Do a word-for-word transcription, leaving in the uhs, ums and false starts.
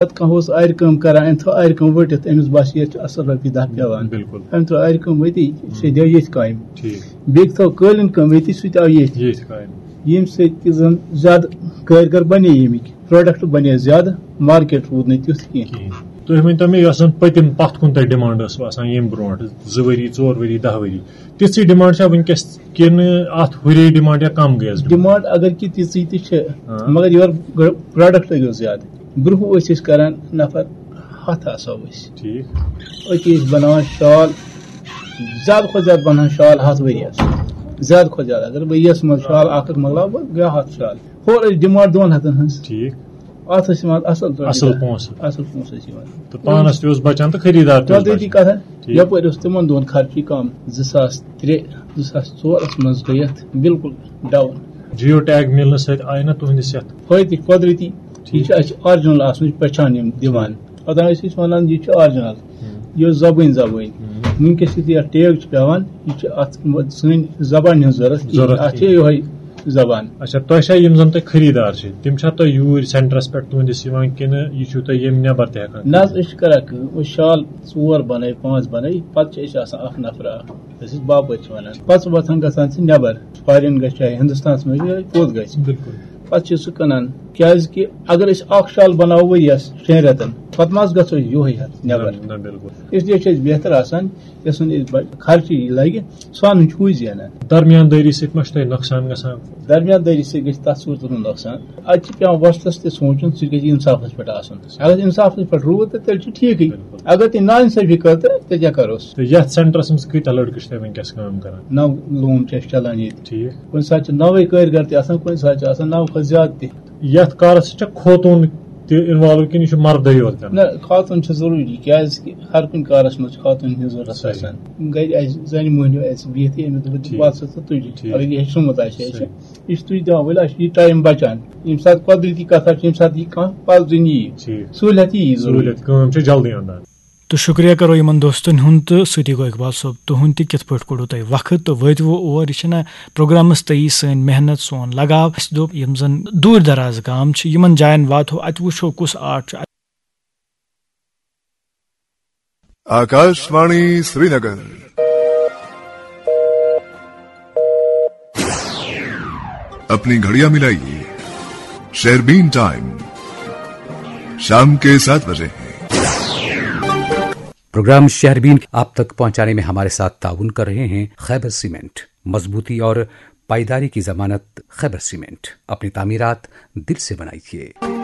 پتہٕ کانٛہہ اوس آرِ کٲم کران، أمۍ تھٲو آرِ کٲم ؤٹِتھ، أمِس باسہِ ییٚتہِ چھِ اَصٕل رۄپیہِ دَہ پٮ۪وان۔ بِلکُل۔ أمۍ تھٲو آرِ کٲم ؤتی، سُہ دِیو ییٚتھۍ کامہِ۔ ٹھیٖک۔ بیٚیہِ تھٲو قٲلیٖن کٲم ییٚتی، سُہ تہِ آو ییٚتھۍ۔ ییٚتھۍ کامہِ۔ ییٚمہِ سۭتۍ تہِ زَن زیادٕ کٲرۍ گر بَنے ییٚمِکۍ، پروڈکٹ بَنے زیادٕ، مارکیٹ روٗد نہٕ تیُتھ کینٛہہ۔ کِہیٖنۍ۔ تُہۍ ؤنۍ تو مےٚ، یۄس زَن پٔتِم پَتھ کُن تۄہہِ ڈِمانڈ ٲسوٕ آسان ییٚمہِ برونٛٹھ زٕ ؤری، ژور ؤری، دَہ ؤری، تِژھٕے ڈِمانڈ چھا وٕنکیٚس کِنہٕ اَتھ ہُرے ڈِمانڈ یا کَم گٔیَس ڈِمانڈ؟ ڈِمانڈ اگر کہِ تِژٕے تہِ چھِ، ہاں۔ مگر یورٕ گۄ-، پروڈکٹ گوٚو زیادٕ۔ برونٛہہ ٲسۍ أسۍ کران نفر ہَتھ آسو أسۍ۔ ٹھیٖک۔ أتی ٲسۍ بناوان شال، زیادٕ کھۄتہٕ زیادٕ بناوان شال ہَتھ ؤریَس۔ زیادٕ کھۄتہٕ زیادٕ، اگر ؤریَس منٛز شال اکھ اکھ مۄکلاو، بہٕ گٔے ہَتھ شال۔ ہورٕ ٲسۍ ڈِمانڈ دۄن ہَتَن ہٕنٛز۔ ٹھیٖک۔ اَتھ ٲسۍ یِوان اَصٕل پٲٹھۍ اَصٕل پونٛسہٕ۔ اَصٕل پونٛسہٕ ٲسۍ یِوان۔ تہٕ پانَس تہِ اوس بَچان تہٕ خٔریٖدار تہِ اوس قۄدرٔتی بَچان۔ کَتھا، ٹھیٖک۔ یَپٲرۍ اوس تِمَن دۄہَن خرچی کَم، زٕ ساس ترٛےٚ، زٕ ساس ژورَس منٛز گٔے یَتھ بِلکُل ڈاوُن۔ جیو ٹیگ مِلنہٕ سۭتۍ آیہِ نہ تُہٕنٛدِس یَتھ؟ فٲیدٕ قۄدرٔتی، یہِ ٹھیٖک۔ چھِ اَسہِ آرجِنَل آسان، یہِ چھِ پہچان یِم دِوان۔ پَتہٕ ٲسۍ أسۍ وَنان، یہِ چھِ آرجِنَل، ہُم۔ یہِ ٲس زَبٲنۍ زَبٲنۍ۔ ہُم۔ وٕنکیٚس یُتھ یَتھ ٹیگ چھِ پٮ۪وان، یہِ چھِ اَتھ سٲنۍ زَبان ہٕنٛز ضوٚرَتھ کِہیٖنۍ۔ ضوٚرَتھ اَتھ چھِ کِہیٖنۍ۔ یِہوٚے زَبان۔ اچھا، تۄہہِ چھا یِم زَن تۄہہِ خٔریٖدار چھِ، تِم چھا تۄہہِ یوٗرۍ سینٹرَس پٮ۪ٹھ تُہٕنٛدِس یِوان کِنہٕ یہِ چھُو تۄہہِ ییٚمہِ نٮ۪بَر تہِ ہٮ۪کان نہ حظ، کٔرِتھ؟ أسۍ چھِ کَران کٲم، أسۍ شال ژور بَنٲوۍ، پانٛژھ بَنٲوۍ، پَتہٕ چھِ أسۍ آسان اَکھ نفرا اَکھ، أسۍ ٲسۍ باپٲرۍ چھِ وَنان۔ پَتہٕ چھِ وۄتھان گژھان چھِ نٮ۪بَر، فارِن گژھِ چاہے ہِندُستانَس منٛز یا کوٚت گژھِ۔ بِلکُل۔ پَتہٕ چھِ سُہ کٕنان، کیٛازِکہِ اگر أسۍ اَکھ شال بَناوو ؤریَس شٮ۪ن رٮ۪تَن، پَتہٕ ما حظ گژھو أسۍ یُہوٚے ہٮ۪تھ نٮ۪بَر؟ نہ، نہ، بِلکُل۔ اِسلیے چھِ أسۍ بہتر آسان، یۄس زَن أسۍ بَ-، خرچہٕ یہِ لَگہِ، سُہ اَنُن چھُ ہُے زینان۔ درمیان دٲری سۭتۍ ما چھُ تۄہہِ نۄقصان گژھان؟ درمیان دٲری سۭتۍ گژھِ تَتھ صوٗرتَس منٛز نۄقصان۔ اَتہِ چھِ پٮ۪وان وۄستَس تہِ سونٛچُن، سُہ گژھِ اِنصافَس پٮ۪ٹھ آسُن۔ اگر اِنصافَس پٮ۪ٹھ روٗد، تہٕ تیٚلہِ چھُ ٹھیٖکٕے۔ بِلکُل۔ اگر تہِ نااِنصٲفی کٔر، تہٕ تیٚلہِ کیٛاہ کَروس؟ تہٕ یَتھ سینٹرَس منٛز کۭتیٛاہ لٔڑکہٕ چھِ تۄہہِ وٕنکیٚس کٲم کَران؟ نَو لوٗم چھِ اَسہِ چَلان ییٚتہِ۔ ٹھیٖک۔ کُنہِ ساتہٕ چھِ نَوَے کٲرۍ گر تہِ آسان، کُنہِ ساتہٕ چھِ آسان نَو کھۄتہٕ زیادٕ تہِ۔ یَتھ کارَس سۭتۍ چھا خوتوٗن تہِ اِنوالو کِنہٕ یہِ چھُ مَردٕے یوت کَران؟ نہ، خاتوٗن چھِ ضروٗری، کیٛازِکہِ ہر کُنہِ کارَس منٛز چھِ خاتوٗن ہٕنٛز ضروٗرت صحیح۔ آسان۔ گَرِ آسہِ زَنہِ مۄہنیو آسہِ بِہِتھ، أمِس دوٚپُن، ٹھیٖک۔ "وَل سا ژٕ تُجہِ"، ٹھیٖک۔ اگر یہِ ہیٚچھنومُت آسہِ اَسہِ۔ صحیح۔ یہِ چھِ تُج دِوان، ؤلۍ اَسہِ چھُ یہِ ٹایم بَچان۔ ییٚمہِ ساتہٕ قۄدرٔتی کَتھا چھِ، ییٚمہِ ساتہٕ یہِ کانٛہہ پَزُن یی، ٹھیٖک۔ سہوٗلیت یی ضروٗری۔ سہوٗلیت، کٲم چھِ جلدی اَنان۔ تہٕ شُکریہ کَرو یِمَن دوستَن ہُنٛد تہٕ سۭتی گوٚو اقبال صٲب تُہُنٛد تہِ، کِتھ پٲٹھۍ کوٚڑوٕ تۄہہِ وقت تہٕ وٲتوٕ اور۔ یہِ چھِنہ پروگرامَس تہٕ یہِ سٲنۍ محنت، سون لگاو۔ اَسہِ دوٚپ، یِم زَن دوٗر دراز گام چھِ، یِمَن جایَن واتو، اَتہِ وٕچھو کُس آرٹ چھُ۔ آکاشوانی سرینگر۔ اپنی گھڑیاں ملائیے، شہربین ٹائم شام کے سات بجے ہیں۔ پروگرام شہربین آپ تک پہنچانے میں ہمارے ساتھ تعاون کر رہے ہیں خیبر سیمنٹ، مضبوطی اور پائیداری کی ضمانت۔ خیبر سیمنٹ، اپنی تعمیرات دل سے بنائیے۔